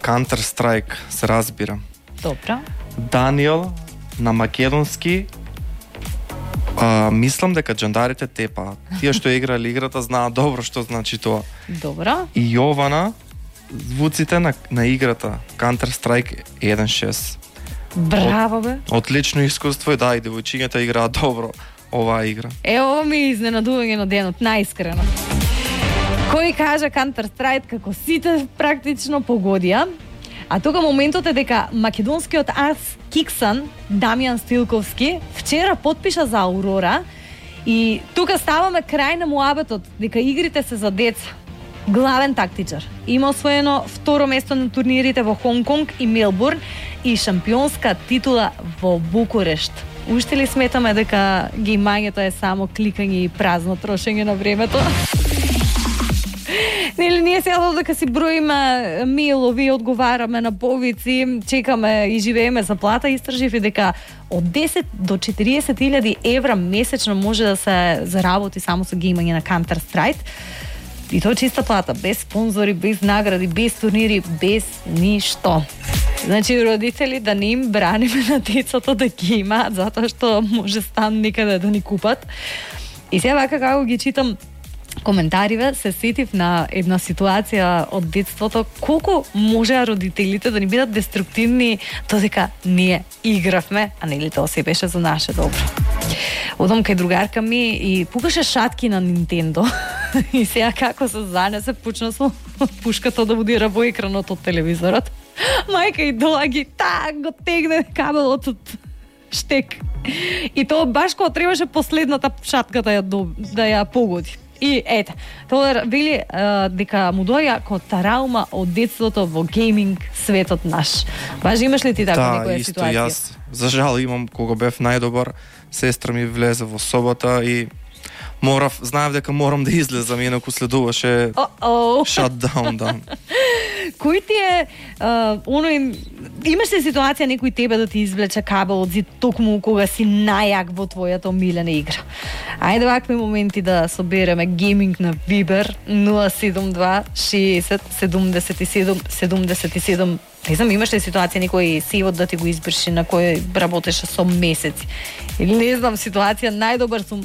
Counter Strike се разбира. Добро. Даниел на македонски мислам дека джандарите тепаат. Тие што играли играта знаат добро што значи тоа. Добро. И Јована звуците на играта Counter Strike 1.6. Браво бе. Отлично искуство и да, и девојчињата играат добро оваа игра. Ова ми е изненадување на денот, најискрено. Кој кажа Counter Strike како сите практично погодија, а тука моментот е дека македонскиот ас Киксан Дамјан Стилковски вчера потпиша за Аурора и тука ставаме крај на муабетот дека игрите се за деца. Главен тактичар. Има освоено второ место на турнирите во Хонг Конг и Мелбурн и шампионска титула во Букурешт. Уште ли сметаме дека геймањето е само кликање и празно трошење на времето? Нели ние сега додека си броиме мейлови, одговараме на повици, чекаме и живееме за плата, истражив и дека од 10 до 40.000 евра месечно може да се заработи само со геймање на Counter Strike. И тоа чиста плата, без спонзори, без награди, без турнири, без ништо. Значи, родители да не им браниме на децата да геймаат, затоа што може стан некаде да ни купат. И сега вака како ги читам коментариве, се сетив на една ситуација од детството, колку можеа родителите да ни бидат деструктивни, додека ние игравме, а нели тоа се беше за наше добро. Одам кај другарка ми и пукаше шатки на Nintendo. И сега како се занесе, почна со пушката да будира во екранот од телевизорот. Мајка и доаги, го тегне кабелот од штек. И тоа баш кога требаше последната шатка да ја погоди. И ете, тоа вели дека му доаѓа како траума од детството во гейминг светот наш. Баш имаш ли ти така некоја ситуација? Да, исто јас. За жал имам, кога бев најдобар, сестра ми влезе во собата и знаев дека морам да излезам, инаку следуваше shutdown, да. Кој ти е имаш ли ситуација некој тебе да ти извлече кабел од зид токму кога си најак во твојата омилена игра? Ајде вакви моменти да собереме гейминг на Viber 072 60 77 77. Не знам, имаш ли ситуација некој сейвот да ти го избрши на кој работеше со месеци? Или не знам, ситуација најдобар сум,